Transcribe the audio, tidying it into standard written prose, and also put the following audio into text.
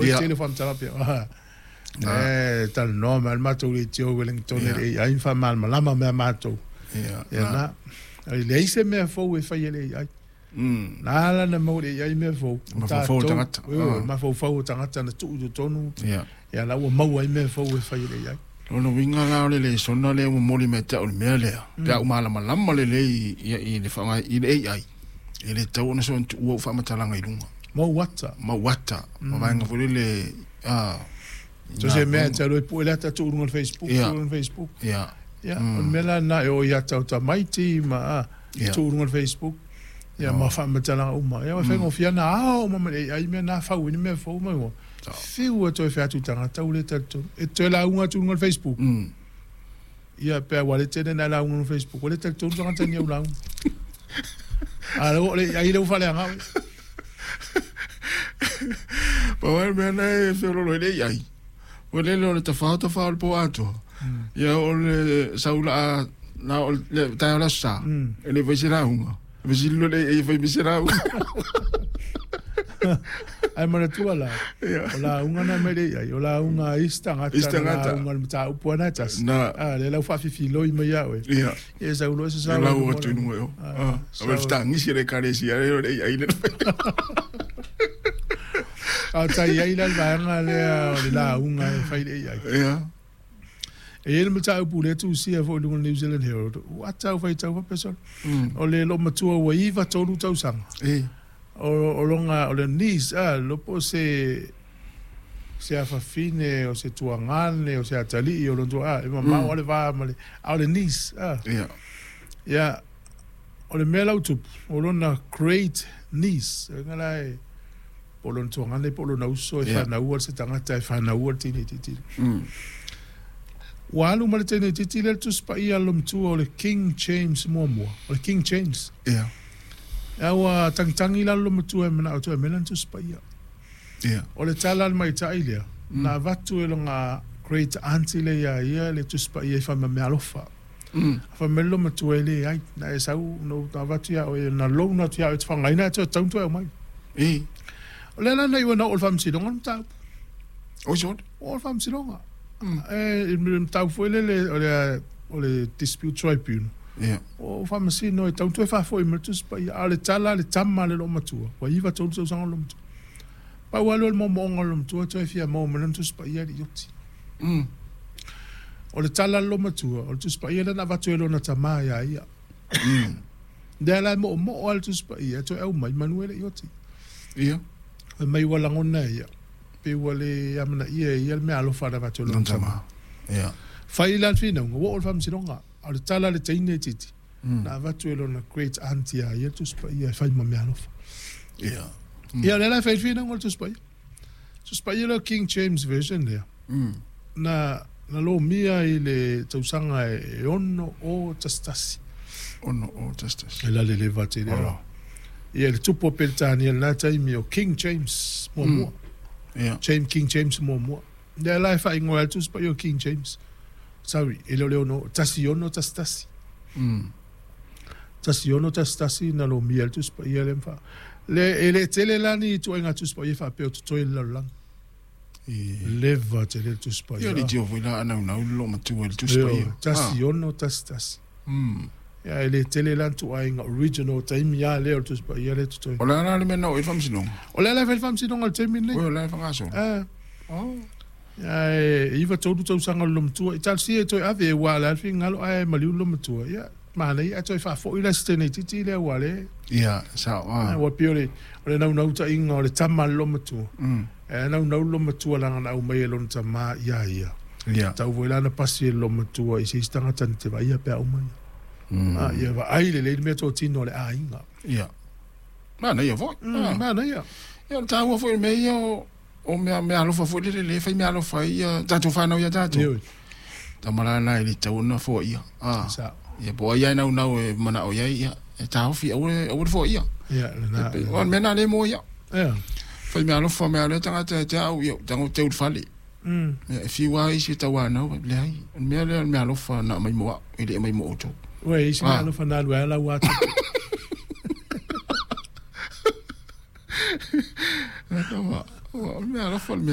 O le tele o faamatalaga pea. E talanoa mai le matou leitio i Wellington i le AI ma faamalamalama mai ia matou. Ia na. E leai se mea fou e fai e le AI. Na ala ona maua e le AI mea fou, mafaufau o tagata. Ioe, mafaufau o tagata na tuu i totonu, ia la ua maua ai mea fou e fai e le AI. Lona uiga la o le lesona lea ua momoli mai te au i le mea lea, pe a ou malamalama lelei i le faaaoga i le AI, e le tatau ona soona tuua ou faamatalaga i luga. Mau ata. Mau ata, ma vaega foi lele, a. So se mea e te alu e pue le ata tuu i luga o le Facebook, tuu i luga o le Facebook. Ia, o le mea la lena e oo i ata o tamaiti ma tuu i luga o le Facebook, ia ma faamatalaga uma. Ia, e faigofie lava ona ao uma mai le AI mea na, fau ai ni mea fou ma fiu e toe fai atu i tagata ua le talitonu. E te toe lauga atu i luga o le Facebook, ia pe ua le tele ona e lauga i luga o le Facebook, ua le talitonu tagata i au lauga. A o le AI lea ua faaleaga oe. Pau lava le mea lena e feololo ai le AI, o le o le tafao tafao o le po atoa, ia o le sau laa na o le taeao le Aso Sa, e le fai se lauga. Fesili loa le AI e fai mai se lauga. Ae manatua la, o lauga na mai le AI, o lauga a isi tagata, isi tagata. Na lauga i le mataupu lava na e tasi. A, lea la ua faafifiloi mai ia oe. Ia. Ia e sau loa se sao. Lau atu i luga i o. A o le fetagisi a le Ekalesia lea o le AI lea na fai. A o tai ai la le vaega lea o le lauga e fai i le AI. Ia. E i ai le mataupu lea e tusia foi i luga o le New Zealand Herald, ua ata au faitau faapea solo. O le loomatua ua 93 tausaga. O lona, o le niece, a, le iloa po o se, se afafine, o se tuagane, o se atalii o lona tua, a, e mamao lava le va ma le, a o le niece, a. Ia, o le mea la ua tupu, o lona great niece, lona la e, po o lona tuagane po o lona uso e fanaua se tagata e fanaua le teine itiiti. Ua alu ma le teine itiiti lea le Tusi Paia a le Lomatua o le King James muamua, o le King James. A ua tagitagi la le Lomatua e manao e toe aumai lana Tusi Paia. O le tala a le maitai lea, na avatu e lona great aunty lea ia ia le Tusi Paia i fai mea alofa. Fai mai le Lomatua e leai, na e sau na ou avatu ia oe, na loan atu ia oe e te faaaogaina ae toe tatau ona toe aumai. O lea la na iu ai na oo i le Faamasinoga le mataupu. Oi sole. Oo i le Faamasinoga. E, le mataupu foi lele o le, o le Dispute Tribunal. O Faamasino e tatau ona toe faafoi mai le Tusi Paia. A o le tala a le tama a le loomatua, ua 93 tausaga o le loomatua. Pau lava lea o le moomooga o le loomatua toe fia maua mai lana Tusi Paia e le i oti. O le tala a le loomatua, o le Tusi Paia lea na avatu e lona tama ia ia. Lea la e moomoo lava le Tusi Paia e toe aumai manu e le i oti. Fai mai ua lagona e ia, pei ua le amanaia e ia le meaalofa na avatu e lona tama. Fai la le finauga, ua oo i le Faamasinoga. A o le tala a le teine itiiti, na avatu e lona great aunt ia ia le Tusi Paia e fai ma meaalofa. Ia, lea la e fai le finauga o le Tusi Paia. Tusi Paia lea o King James Version lea, na, na lomia i le tausaga e 611. 611. E la le leva tele. Olo. Ia, le tupu o Peretania i lena taimi o King James muamua. James, King James muamua. Lea la e faaigoa ai le Tusi Paia o King James. Sorry, e le o le ono, 1611. 1611 na lomia ai le Tusi Paia lea ma faa. Le, e le tele la ni ituaiga Tusi Paia faapea o totoe i le lalolagi. Leva tele le Tusi Paia. Ia, le tio foi la anaunau le loomatua i le Tusi Paia. 1611. Ia, e le tele la ni ituaiga original taimi lava lea o le Tusi Paia lea e totoe. O le a la le mea na oo i le Faamasinoga? O lea la e fai le Faamasinoga i le taimi lenei. Oi, o la e faagasolo. Ia, e 93 tausaga o le loomatua. I talosia e toe ave, aua o le a le finagalo ae maliu le loomatua. Ia, manaia ae toe faafoi la si teine itiiti lea aua le... Ia, sao. Aua pei o le, o le naunautaiga o le tama a le loomatua. E naunau le loomatua leaga na aumai e lona tama ia ia. Tau foi la na pasi e le loomatua i se isi tagata na te vaaia pe a uma ia. Ia vaai lelei le mea totino a le aiga. Ia. Manaia foi. Manaia. Ia, o le taua foi o le mea ia o o mea meaalofa foi lele lea e fai meaalofa ai ia tatou fanau ia tatou. Ioe. Tama la na e le tatau ona foaia. Ah. Sao. Ia po o ai lava e naunau e manao i ai, ia, e taofi aua le, aua le foaia. Ia, lena. E pei, o le mea na lea mo ia. Ia. Fai meaalofa mea lea tagata ia te au, ia, tago teu i le fale. Ia, e fiu lava isi e tauanau, leai, o le mea lea o le meaalofa na aumai mo au, e le aumai mo outou. Ua i ai se meaalofa na alu ai lava lau atu. O le meaalofa le mea.